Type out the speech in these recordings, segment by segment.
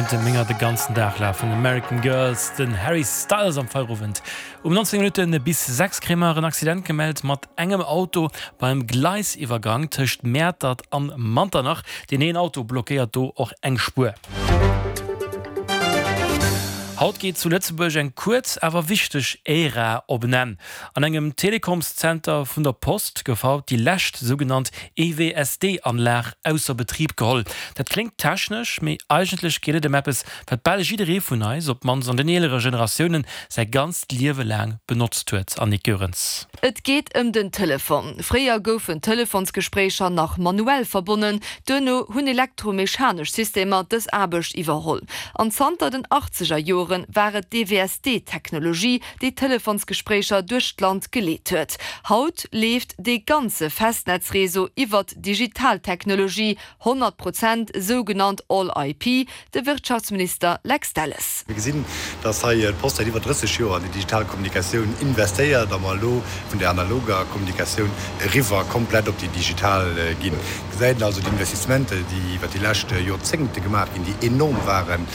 Kéinte menger de ganzen Dag lafen. American Girls, den Harry Styles am Feierowend. Um 19 Minutte bis 6 kréie mer en Accident gemellt mat engem Auto beim Gleisiwwergang tëscht Mäertert an Manternach. Deen een Auto blockéiert do och eng Spuer. Haut geet zu Lëtzebuerg eng kuerz awer wichteg Ära op en Enn. An engem Telekomszenter vun der Post gouf haut déi lescht sougenannt EWSD-Anlag ausser Betrib geholl. Dat kléngt technesch, mee eigentlech geet et ëm eppes, wat bal jidderee vun eis, op d'mannst an den eelere Generatiounen, säi ganzt Liewe laang benotzt huet. Annick Goerens. Et geet ëm den Telefon. Fréier goufen d'Telefonsgespréicher nach manuell verbonnen, duerno hunn elektromechanesch Systemer dës Aarbecht iwwerholl. An zanter den achtzeger Joren war et d'EWSD-Technologie, déi d'Telefonsgespréicher duerch d'Land geleet huet. Haut leeft dee ganze Festnetzreseau iwwert digital Technologie, 100 Prozent sougenannt All-IP, de Wirtschaftsminister Lex Delles. Mir gesinn, dass hei d'Post säit iwwer 30 Joer an déi digital Kommunikatioun investéiert a mer elo vun där analoger Kommunikatioun eriwwer komplett op déi digital ginn. Et gesäit een also, déi Investissementer, déi iwwer déi lescht Joerzéngte gemaach ginn, déi enorm waren,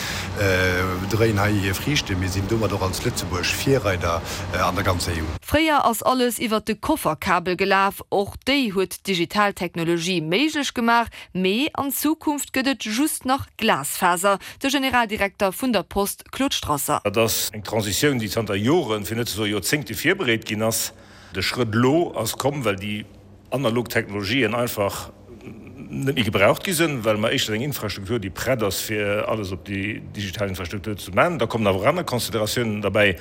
dréien hei hir Friichten. Mir sinn domat och als Lëtzebuerg Virreider an der ganzer EU. Fréier ass alles iwwer de Kofferkabel gelaf. Och déi huet d'digital Technologie méiglech gemaach, mee an Zukunft gëtt et just nach Glasfaser, de Generaldirekter vun der Post Claude Strasser. Dat ass eng Transitioun, déi zanter Joren, fir net ze soe Joerzéngte virbereet ginn ass. De Schrëtt elo ass komm, well déi analog Technologien einfach net méi gebraucht gi sinn, well mer éischtens eng Infrastruktur, déi prett ass, fir alles op déi digital Infrastruktur ze maachen. Da kommen awer och aner Consideratiounen derbäi.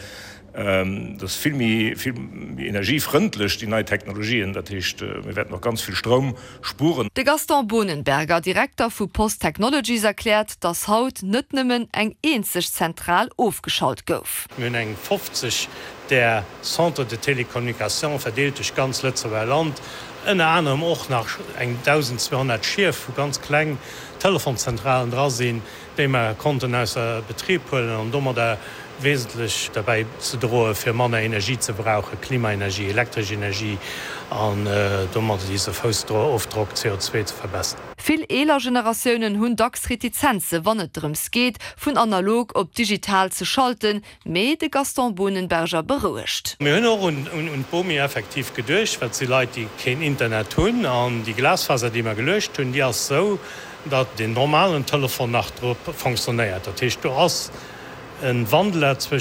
Dat ass vill méi, vill méi energiefrëndlech, déi nei Technologien. Dat heescht, mir wäerten och ganz vill Stroum spueren. De Gaston Bonenberger, Direkter vu Post Technologies, erkläert, datt haut net nëmmen eng eenzeg Zentral ofgeschalt gouf. Mir hunn eng 50 där Centres de télécommunication verdeelt duerch ganz Lëtzebuerger Land, ënner anerem och nach eng 1.200 Schief, wou ganz kleng Telefonszentralen dra sinn, déi mer konnten ausser Betrib huelen an domadder wesentlech derbäi ze droe fir manner Energie ze brauchen, Klimaenergie, elektresch Energie, an domadder dise Foussofdrock CO2 ze verbessern. Vill eeler Generatiounen hunn dacks Retizenze wann et drëms geet, vun analog op digital ze schalten, mee de Gaston Bonenberger berouegt. Mir hunn och un d'Bomi effektiv geduecht, well et si Leit, déi keen Internet hunn. An déi Glasfaser, déi mer geluecht hunn, déi ass esou, datt den normalen Telefon nach drop fonctionnéiert. Dat heescht, do ass e Wandler zwëschent.